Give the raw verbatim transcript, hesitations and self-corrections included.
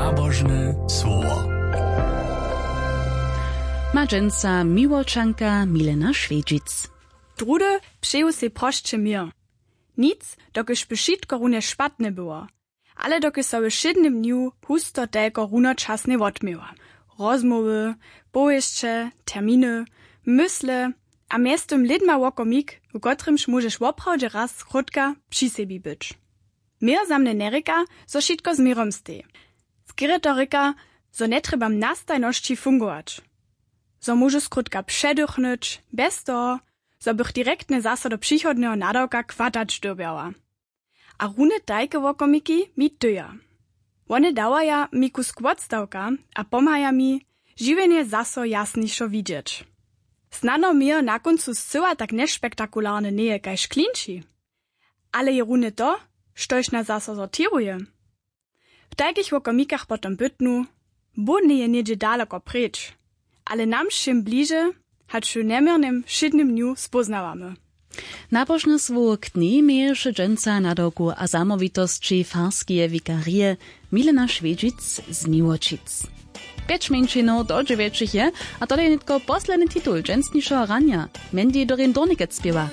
Nabožne słowo. Ma dźensa Miłočanka Milena Šwjedźic. Drudy přeju sej prosće měr. Nic, dokelž by wšitko runje špatne było. Ale dokelž so we wšědnym dnju husto telko runočasnje wotměła. Rozmołwy, powěsće, terminy, mysle a mjeztym lědma wokomik, w kotrymž móžeš woprawdźe raz krótka při sebi być. Měr za mnje njerěka, zo wšitko z měrom steji. Skerje to rěka, zo njetrjebam na stajnosći fungować. Zo móžu skrótka předychnyć, bjez toho, zo bych direktnje zaso do přichodneho nadawka chwatać dyrbjała. A rune tajke wokomiki mi tyja. Wone dawaja mi kusk wotstawka a pomhaja mi, žiwjenje zaso jasnišo widźeć. Snano měr na kóncu scyła tak njespektakularne njeje kaž klinči. Ale je rune to, štož nas zaso sortiruje. W tajkich wokomikach potom bytnu, bóh njeje něhdźe daloko preč, ale nam wšěm bliže, hač w njeměrnym wšědnym dnju spóznawamy. Nabožne słowo k dnjej měješe dźensa nadawku a zamołwitosći farskeje wikarije Milena Šwjedźic z Miłočic. Pjeć mjeńšinow do dźewjećich je, a to je nětko posledny titul dźensnišeho ranja. Mandy Doreen Dornikec spěwa.